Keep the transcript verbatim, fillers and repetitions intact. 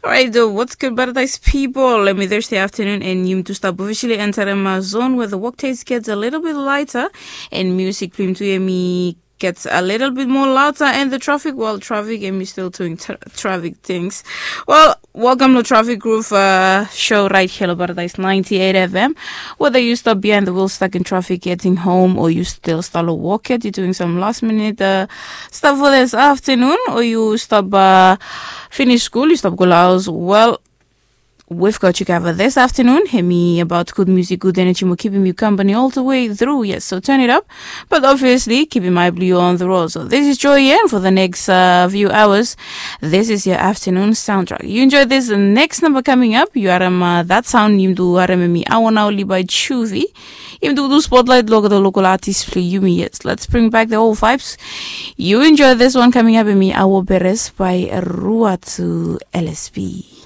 Alright, so what's good, Paradise people? Let me Thursday afternoon, and yumi tu stap officially enter in my zone where the work days gets a little bit lighter, and music play to me gets a little bit more louder, and the traffic, well, traffic, and me still doing tra- traffic things. Well, welcome to Traffic Groove uh, show right here on Paradise ninety-eight F M. Whether you stop behind the wheel stuck in traffic getting home, or you still start to walk it, you're doing some last minute uh, stuff for this afternoon, or you stop uh, finish school, you stop go house. Well, we've got you covered this afternoon. Hemi about good music, good energy, mo keeping you company all the way through. Yes, so turn it up. But obviously, keeping my blue on the road. So this is Joy Yen for the next uh, few hours. This is your afternoon soundtrack. You enjoy this next number coming up. You are um, uh, that sound you do are mi awana oli by Chuvi. Im do do spotlight logo the local artist play Yumi. Yes, let's bring back the old vibes. You enjoy this one coming up in me. Awo Beres by Ruatu L S P.